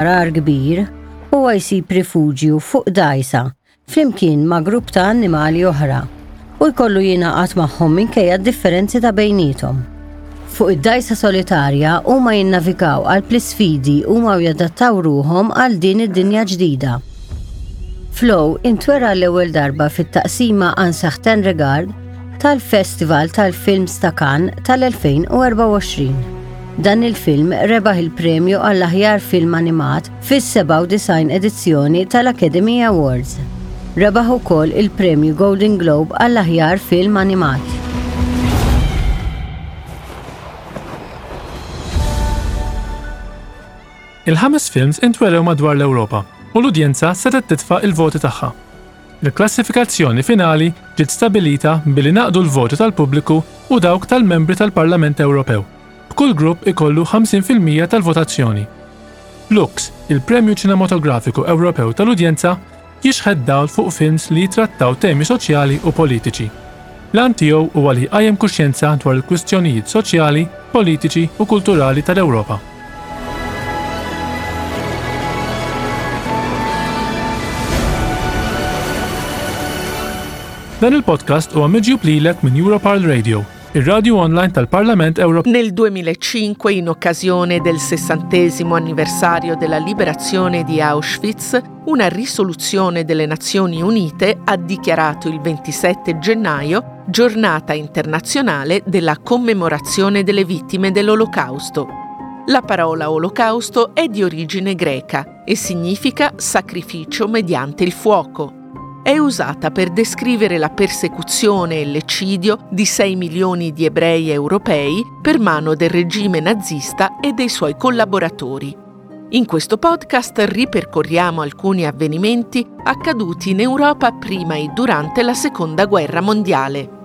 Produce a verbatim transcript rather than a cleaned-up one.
Għargħar kbir, huwa jsib rifuġju fuq dgħajsa flimkien ma' grupp ta' annimali oħra u jkollu jingħaqad magħhom minkejja d-differenzi ta' bejniethom. Fuq id-dgħajsa solitarja huma jinnavigaw qalb l-isfidi huma u jadattaw ruħhom għal din id-dinja ġdida. Flow intwera l-ewwel darba fit-taqsima Un Certain Regard tal-Festival tal-Films ta' Cannes tal-elfejn u erbgħa u għoxrin. Dan il-film rebaħ il-premju għall-aħjar film animat fis-sebgħa u disgħin edizzjoni tal-Academy Awards. Rebaħ ukoll il-premju Golden Globe għall-aħjar film animat. Il-ħames films intwerew madwar l-Ewropa u l-udjenza setgħet titfa' il-voti tagħha. Il-klassifikazzjoni finali ġiet stabilita billi naqdu l-voti tal-pubbliku u dawk tal-membri tal-Parlament Ewropew. B'kull grupp ikollu ħamsin fil-mija tal-votazzjoni. Lux, il-Premju Ċinematografiku Ewropew tal-Udjenza, jixħet dawl fuq films li jitrattaw temi soċjali u politiċi. L-għan tiegħu huwa li jqajjem kuxjenza dwar il-kwistjonijiet soċjali, politiċi u kulturali tal-Ewropa. Dan il-podcast huwa miġjub lilek minn Europarl Radio, ir-radio online tal-Parlament Ewropew. Nel duemilacinque, in occasione del sessantesimo anniversario della liberazione di Auschwitz, una risoluzione delle Nazioni Unite ha dichiarato il ventisette gennaio giornata internazionale della commemorazione delle vittime dell'Olocausto. La parola Olocausto è di origine greca e significa sacrificio mediante il fuoco. È usata per descrivere la persecuzione e l'eccidio di sei milioni di ebrei europei per mano del regime nazista e dei suoi collaboratori. In questo podcast ripercorriamo alcuni avvenimenti accaduti in Europa prima e durante la Seconda Guerra Mondiale.